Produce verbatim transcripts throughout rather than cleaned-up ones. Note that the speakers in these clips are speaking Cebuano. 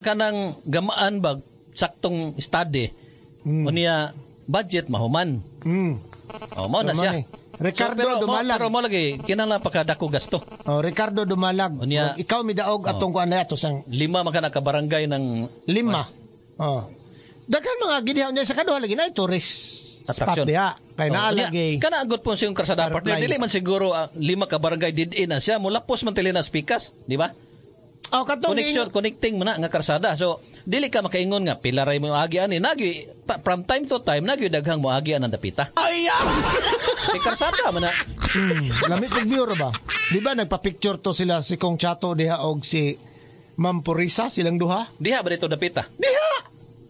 kanang gamaan ba saktong study. Mm. Unya budget mahuman. Mm. Oh, mao na So, siya. mao ni. Ricardo so, pero, Dumalag. Mo, pero mo lagi kinahanglan pa kadako gasto. Oh, Ricardo Dumalag. Unya- Murag ikaw midaog atong kuan na ato sang Lima man ka na ka barangay ng lima. Oh. Daghan mga gidiha unya sa kaduha lagi na tourist spot Attraction. diha. Kay naa Oh, unya, lagi. Kana agad po siyang karsada partner. Firefly. Dili man siguro ah, lima ka barangay did-in na siya. Mulapos man tili na spikas, di ba? Oh, katong Connection, connecting mo na nga karsada. So, dili ka makaingon nga pila ray mo agi ani nagi pa- from time to time nagi daghang mo agi ang dapita. Ay! Kay karsada man na. Hmm, lamit og bureau ba? Di ba nagpa-picture to sila si Kong Chato diha og si Ma'am Purisa silang duha? Diha ba dito dapita? Diha.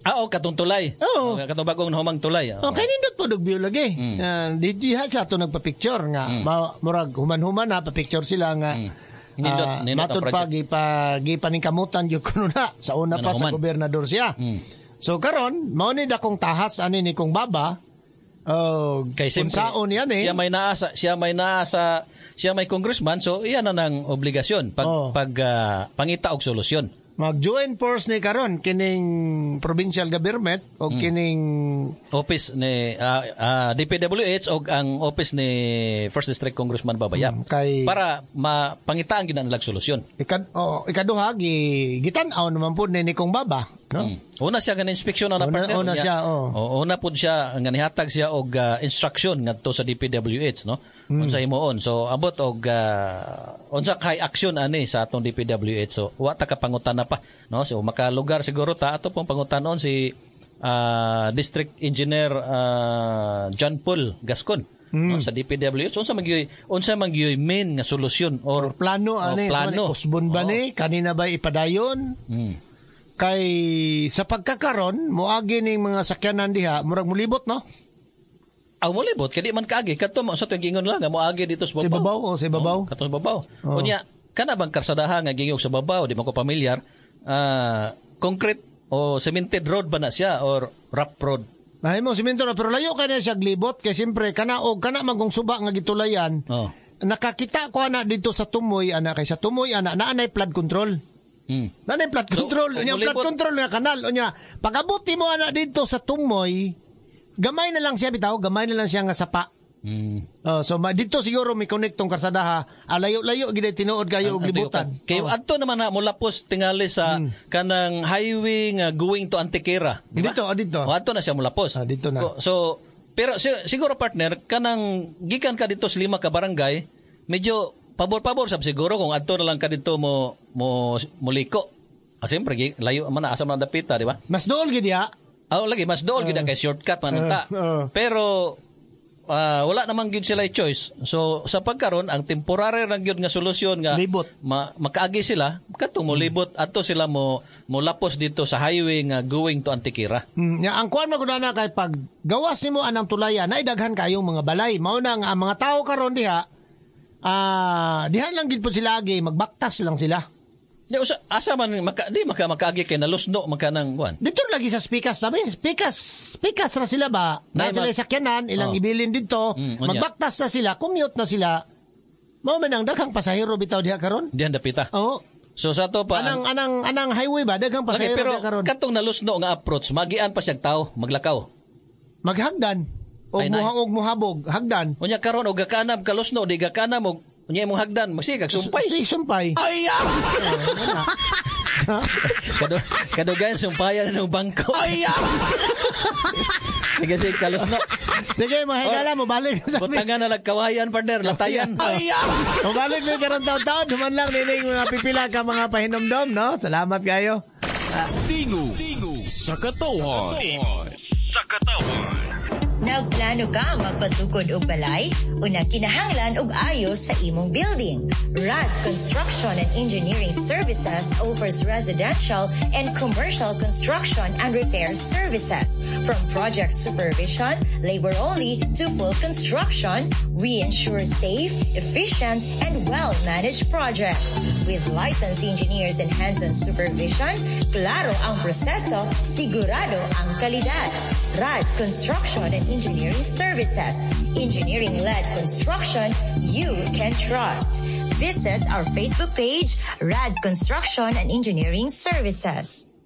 Ah, oh, katong tulay. Oo. Oh, katong bagong humang tulay. Oh. Okay, nindot po og view lagi. Mm. Ah, di diha sa ato nagpa-picture nga ma, murag human-human na pa-picture sila nga. Mm. Nindot, ah, nindot ang matud pa project. gipa gipaningkamutan gyud kuno na sa una pa sa Ano, human. gobernador siya. Mm. So karon mao ni dakong tahas ani ni kong baba. Oh, Kay siyempre, unsaon yan eh. Siya may naa sa siya may naa sa siya may congressman so iyan na nang obligasyon pag Oh. pag ah, pangita og solusyon. Mag-join force ni karon kining provincial government o Mm. kining Office ni ah, ah, D P W H og ang office ni First District Congressman Baba Yap Mm, kay para mapangitaan gyud na nilang solusyon. Ikad, oh, ikaduha gi gitan-aw naman pud ni ni kong baba, no? Mm. Una siya nga inspeksyon na Una- partner. una Unya- siya, oh. Oo, una pud siya nga nihatag siya og ah, instruction ngadto sa D P W H, no? Mm. Unsa himuon. So abot og ah, unsa kay action ani sa atong D P W H. So wa ta kapangutana pa, no? So makalugar siguro ta ato pong pangutanon si ah, District Engineer ah, John Paul Gascon. Mm. No, sa D P W H unsa man gyud unsa man gyud main nga solusyon or Plano o ani, plano. Usbon ba Oo. ni kanina ba ipadayon? Mm. Kay sa pagkakaron moagi ning mga sakyanan diha, murag mulibot, no? Aw, molibot kay di man kaagi kadto mo sa tuwing giingon lang nga moagi dito sa Si babaw. babaw o si babaw. Oh, kadto sa babaw. Oh. Unya kana bang karsadaha nga gingog sa babaw, di man ko pamilyar, ah, concrete o cemented road ba na siya or rough road? Mahimo simento na pero layo kay na siya glibot kay siyempre kana og kana man kung suba nga gitulayan. Oh. Nakakita ko ana dito sa Tumoy ana kay sa Tumoy ana naa nay flood control. Mm. Naa nay flood So, control, kung unya flood mulibot- control nga kanal unya pag-abot mo ana dito sa Tumoy, gamay na lang siya bitaw, gamay na lang siya nga sapa. Mm. Oh, so ma, dito siguro may connect tong karsadaha. Ah, layo-layo gid tinuod kayo og Ang- ang libutan. tuyukan. Kay Oh. adto naman na molapos tingali sa kanang highway nga going to Antequera, di ba? Dito, oh, dito. O, adto na siya molapos. Ah, dito na. So pero si- siguro partner kanang gikan ka dito sa lima ka barangay, medyo pabor-pabor sab siguro kung adto na lang ka dito mo mo moliko. Ah, siyempre, gi- layo man na asa man ang dapita, di ba? Mas dool gid diha. Ah, lagi mas dool gid kay shortcut man ta. Uh, uh. Pero ah, wala namang gyud sila choice. So sa pagkaron ang temporary lang gyud nga solusyon nga Libot. ma, makaagi sila kadtong mo libot adto sila mo mo lapos dito sa highway nga going to Antequera. Mm, nya ang kuan man gud ana kay pag gawas nimo anang tulaya na daghan kayong mga balay. Mao na nga ang mga tao karon diha ah diha lang gid po sila agi magbaktas lang sila. Di usa asa man maka, di maka makaagi kay nalusno maka nang kuan. Dito lagi sa Spikas sabi, Spikas, Spikas ra sila ba? Na Nay, sila mag- sakyanan, ilang Oh. ibilin dito, Mm, unya. magbaktas na sila, commute na sila. Mao man ang daghang pasahero bitaw diha karon. Diyan dapita. Oo. So sa to pa Anang anang anang highway ba daghang Lagi, pasahero pero diha karon. katong nalusno nga approach magian pa siyang tao maglakaw. Maghagdan og Ay, nay. muha og muhabog, hagdan. Unya karon og gakanam kalusno di gakanam og unya imong hagdan magsigag sumpay. Si sumpay. Ay! Kado, kadugayan sumpayan ng bangko. Ay! Sige, sige, kalusno. Sige, mga higala mo balik sa Butangan na lagkawayan, partner. Latayan. Ay! Mabalik mi karon taon-taon, human lang nining mga pipila ka mga pahinomdom, no? Salamat kayo. Tingog sa katawhan. Sa katawhan. Nagplano ka magpatukod og balay o nakinahanglan og ayos sa imong building? RAD Construction and Engineering Services offers residential and commercial construction and repair services. From project supervision, labor only, to full construction, we ensure safe, efficient, and well-managed projects. With licensed engineers and hands-on supervision, klaro ang proseso, sigurado ang kalidad. RAD Construction and Engineering Services. Engineering-led construction you can trust. Visit our Facebook page, RAD Construction and Engineering Services.